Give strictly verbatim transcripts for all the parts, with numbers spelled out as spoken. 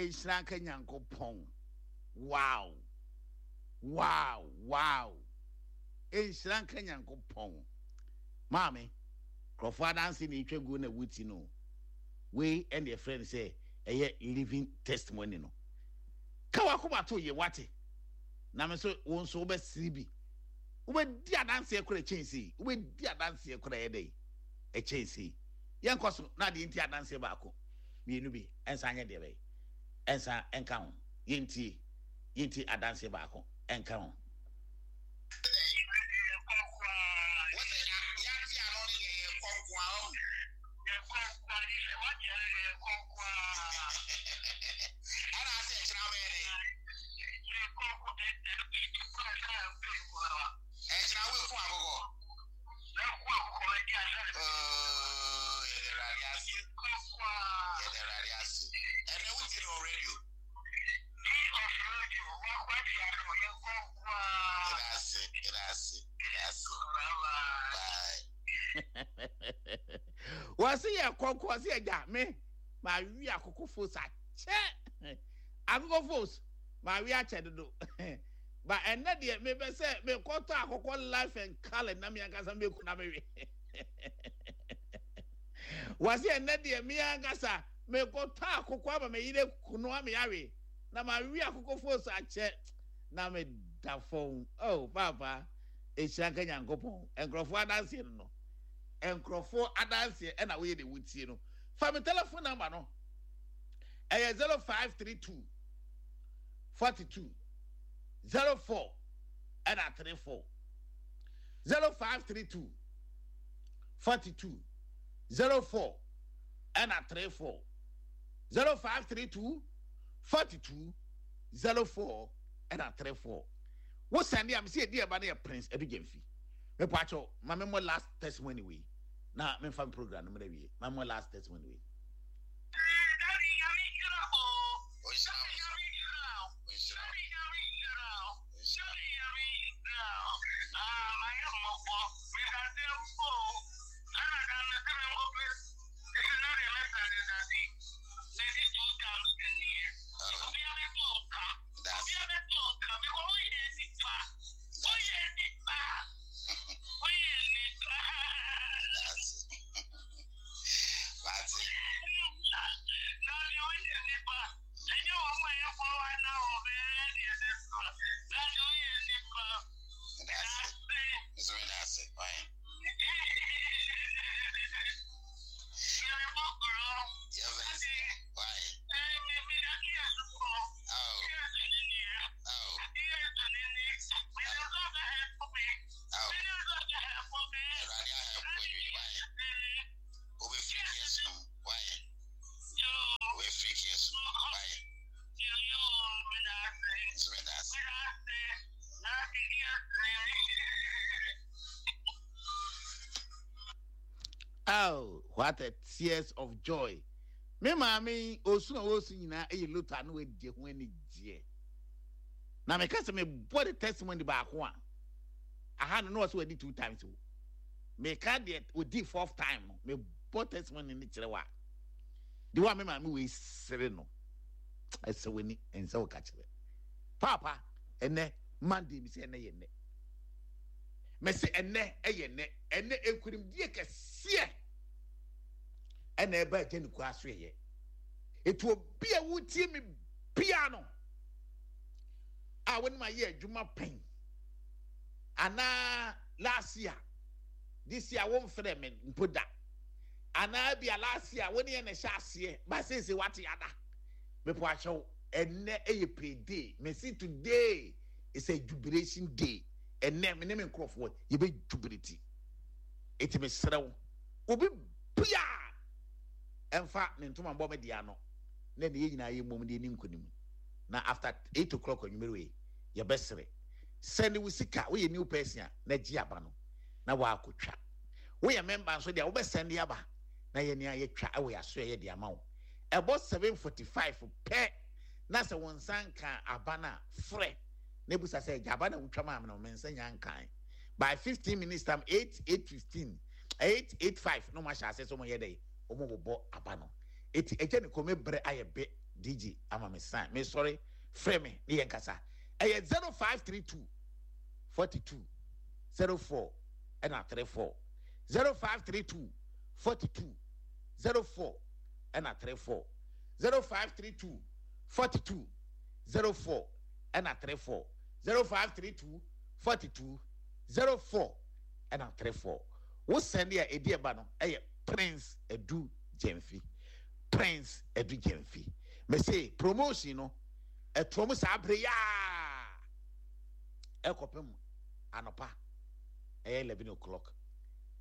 Nhyira nka Nyankopɔn. Wow. Wow, wow. Nhyira nka Nyankopɔn. Maame, nkurɔfoɔ adanse na ɛtwa guo na wuti no. Wei ɛna ɛfrɛ no sɛ ɛyɛ living testimony no. Ka wakoma to yɛ wate. Na me nso wo nso wobɛsere bi. Wobɛdi adanseɛ koraa ɛkyɛn sei. Wobɛdi adanseɛ koraa ɛyɛ dɛ ɛkyɛn sei. Yɛnkɔ so na adeɛ nti adanseɛ baako mmienu bi ɛnsa nyɛ deɛ bɛyɛ ɛnsa ɛnka ho. Yɛntie yɛntie adanseɛ baako ɛnka ho. Wɔsi yɛ kɔnkɔn, wɔsi yɛ gya me ma wi akoko fos akyɛ akoko fos ma wi akyɛ dodo ba ɛnɛ deɛ mebɛ sɛ mekɔtɔ akoko life and colour na mi ankasa meku na mewe. Wɔsi ɛnɛ deɛ mi ankasa mekɔtɔ akoko ama me yere kunu ama yawe na ma wi akoko fos akyɛ na me da fam. Oh papa, ehyira nka Nyankopɔn. Nkurɔfoɔ adanseɛ no no nkurɔfoɔ adanseɛ ɛna woyɛ de wotie no. Fa me telephone number no, ɛyɛ zero five three two forty two zero four ɛna three four zero five three two forty two zero four ɛna three four zero five three two forty two zero four ɛna three four. Wo send a mesi edi ɛba no yɛ Prince Edu Gyamfi. Mepa akyɛw, ma me mmɔ last testimony wei na memfa me program no mmra wie. Ma me mmɔ last testimony wei. Daddy Nyame nhyira wo. Daddy Nyame nhyira wo. Daddy Nyame nhyira wo. Daddy Nyame nhyira wo. Ah, mayɛ mmɔbɔ. Medase mpo. Ɛna da no sɛ menkɔpɛ na deɛ mɛsɛnde daddy. Medi two times nie. Obia bɛto nka. Obia bɛto nka. Because woyɛ nipa. Woyɛ nipa. Woyɛ nipa. Daddy woyɛ nipa. Ɛnyɛ wɔn a ɛyɛ fɔ wa na wɔbɛyɛ deɛ ne so. Daddy woyɛ nipa. Dase. Oh, what a tears of joy. Me maame osu na osu nyinaa ɛyɛ lota na wadi ho ani gyeɛ. Na meka sɛ mebɔ de testimony baako a aha no na ɔsɛ wadi two times o. Meka deɛ odi fourth time no mebɔ testimony no kyerɛ wa. De wa me maame wei sere no ɛsɛ w'ani ɛnsɛ wo ka kyerɛ. Papa ɛnɛ Monday mi sɛ ɛnɛ yɛ nnɛ. Mɛsɛ ɛnɛ ɛyɛ nnɛ. Ɛnɛ nkunimdie kɛseɛ ɛna ɛba agya ne kura so yɛ. Etu obi a wotie mi bia no a wɔn mu ayɛ adwuma pɛn anaa last year this year wɔn mfrɛ mi mpo da anaa bi a last year wɔn yɛ na ɛhyɛ aseɛ ba seesei wate ada mepɔ akyɛw ɛnɛ ɛyɛ payday. Mɛsi today is a jubilation day. Ɛnɛ me ne me nkurɔfoɔ yɛbɛ jubilate. Eti me srɛw obi bia ɛnfa ne ntoma mbɔ me dea no na ne yɛ nyinaa yɛ mmom de ni nkonim. Na after eight o'clock anwummere wei yɛbɛsere. Sɛne wo sika, woyɛ new person a na gye aba no na waakɔtwa. Woyɛ member nso deɛ wobɛsɛnde aba na yɛ nea yɛtwa ɛwɔ yɛaso yɛ de ama wo. Ɛbɔ seven forty five pɛ na sɛ wo nsa nka aba no a frɛ na ebusa sɛ gya aba na wotwa maa me no me nsa nya nkan. By fifteen minutes time eight eight fifteen eight eight five na wɔn ahyɛ ase sɛ wɔn yɛ dɛ wɔn bobɔ aba no. Eti ɛgya ne kɔn brɛ ayɛ bɛ D J ama me sign. Me sorry, frɛ me ne yɛn kasa. Ɛyɛ zero five three two forty two zero four ɛna three four zero five three two forty two zero four ɛna three four zero five three two forty two zero four ɛna three four zero five three two forty two zero four ɛna three four. Wo sɛnde a edi ɛba no ɛyɛ Prince Edu Gyɛnfi, Prince Edu Gyɛnfi. Mɛ promotion no ɛtoɔ mu saa abere yaa ɛkɔpem anɔpa ɛyɛ eleven o'clock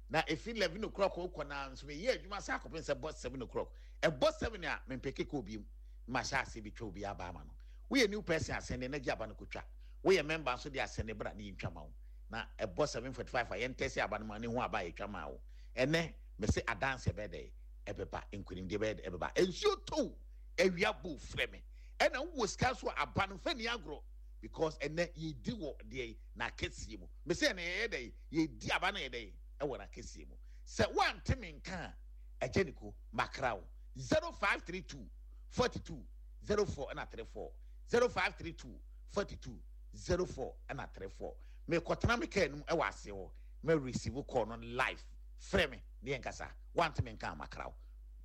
na efi eleven o'clock okɔ na nso meyɛ adwuma saa akɔpem sɛ bɔ seven o'clock. Ɛbɔ seven a, mempeke kɔ obi mu ma hyɛ ase bi twa obi aba ama no. Woyɛ new person, asɛnde na gye aba no kotwa. Woyɛ member nso de, asɛnde bra ne yɛntwa ma wo. Na ɛbɔ seven forty five a, yɛntɛsɛ aba no ma ne ho aba a yɛtwa ma wo. Ɛnɛ mɛsɛ adanse ɛbɛyɛ dɛ ɛbɛba, nkonimdie bɛyɛ dɛ ɛbɛba. Nsuo tow, awia bo, frɛ me. Ɛna wowɔ sika so a, aba no fɛ ni agorɔ because ɛnɛ yɛdi wɔ deɛ n'akɛseɛ mu. Mɛsɛ ɛnɛ yɛyɛ dɛ yɛdi aba no yɛ dɛ ɛwɔ n'akɛseɛ mu. Sɛ woante me nka a, ɛgye ne ko makra wo. zero five three two forty two zero four ɛna three four zero five three two forty two zero four ɛna three four. Mekɔtena me kaa num ɛwɔ aseɛ hɔ, mɛ receive call no live. Frɛ me ne yɛn kasa. Woante me nka a, makra wo.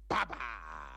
Bye bye.